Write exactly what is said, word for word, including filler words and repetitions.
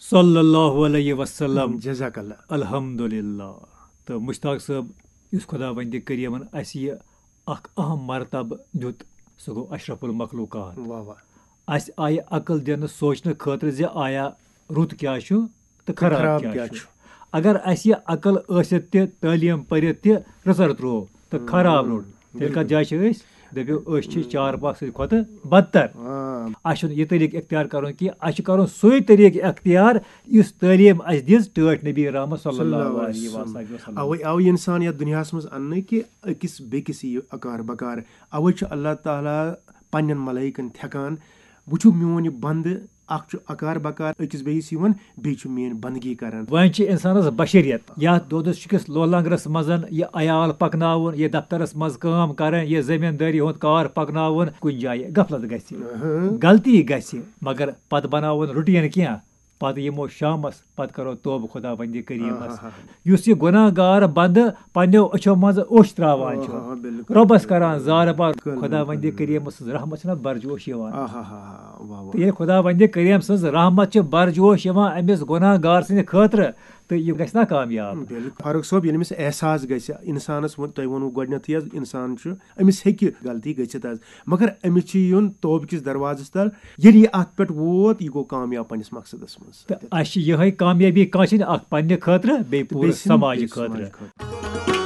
صلی اللہ علیہ وسلم۔ جزاک اللہ۔ الحمدللہ۔ تہٕ مشتاق صٲب، یُس خۄداوندِ کریٖمن اَسہِ یہِ اکھ اہم مرتبہٕ دیُت، سُہ گوٚو اشرف المخلوقات۔ واہ واہ۔ اَسہِ آیہِ عقل دِنہٕ سونٛچنہٕ خٲطرٕ زِ آیا رُت کیٛاہ چھُ تہٕ خراب خراب کیٛاہ کیٛاہ چھُ۔ چھُ؟ اگر اَسہِ یہِ عقل ٲسِتھ تہِ، تعلیٖم پٔرِتھ تہِ رٕژر ترٛوو تہٕ خراب روٚٹ، تیٚلہِ کَتھ جایہِ چھِ أسۍ؟ دٔپِو، أسۍ چھِ چارپاک سٕنٛدِ کھۄتہٕ بدتر۔ آ، اَسہِ چھُنہٕ یہِ طریٖقہٕ اختیار کَرُن کینٛہہ، اَسہِ چھُ کَرُن سُے طریٖقہٕ اختیار یُس تعلیٖم اَسہِ دِژ ٹٲٹھۍ نبی رحمت صلی اللہ علیہ وسلم۔ اوے آو یہِ انسان یتھ دُنیاہس منٛز اننہٕ کہِ أکِس بیٚکِس یہِ اکار بکار۔ اوے چھُ اللہ تعالیٰ پننٮ۪ن ملائکن تھٮ۪کان، وٕچھِو میون یہِ بندٕ، اکھ چھُ اکار بکار أکِس بیٚیِس یِوان، بیٚیہِ چھُ میٲنۍ بندگی کران۔ وۄنۍ چھِ انسانس بشریت، یتھ دۄدس چھُکِس لولنگرس منٛز یہِ عیال پکناوُن، یہِ دفترس منٛز کٲم کرٕنۍ، یہِ زمیٖندٲری ہُنٛد کار پکناوُن، کُنہِ جایہِ غفلت گژھِ، غلطی گژھِ، مگر پتہٕ بناوُن روٹین کینٛہہ۔ پتہٕ یِمو شامس، پتہٕ کرو توبہٕ خۄداوندِ کریٖمس۔ آہا۔ یُس یہِ گۄناہ گار بندٕ پننیو أچھو منٛز اوٚش ترٛاوان چھُ، آہا، بِلکُل، رۄبس بِلکُل، کران بِلکُل۔ زارٕ پار، بِلکُل، خۄداوندِ بِلکُل۔ کریٖم سٕنٛز رحمت چھنہ برجوش یِوان۔ آہا، واہ، واہ۔ تہٕ ییٚلہِ خۄداوندِ کریٖم سٕنٛز رحمت چھِ برجوش یِوان أمِس گۄناہ گار سٕنٛدِ خٲطرٕ، تہٕ یہِ گژھِ نا کامیاب۔ بِلکُل۔ فاروق صٲب، ییٚلہِ أمِس احساس گژھِ، انسانس ووٚن، تۄہہِ ووٚنوُ گۄڈٕنٮ۪تھٕے حظ، انسان چھُ، أمِس ہیٚکہِ غلطی گٔژھِتھ حظ، مگر أمِس چھُ یُن توبہٕ کِس دروازس تل۔ ییٚلہِ یہِ اتھ پٮ۪ٹھ ووت، یہِ گوٚو کامیاب پننِس مقصدس منٛز۔ تہٕ اَسہِ چھِ یِہے کامیٲبی کانٛہہ چھِنہٕ اکھ پننہِ خٲطرٕ، بیٚیہِ پوٗرٕ بیٚیہِ چھِنہٕ سماجہِ بیٚیہِ خٲطرٕ۔ سماجہِ خٲطرٕ۔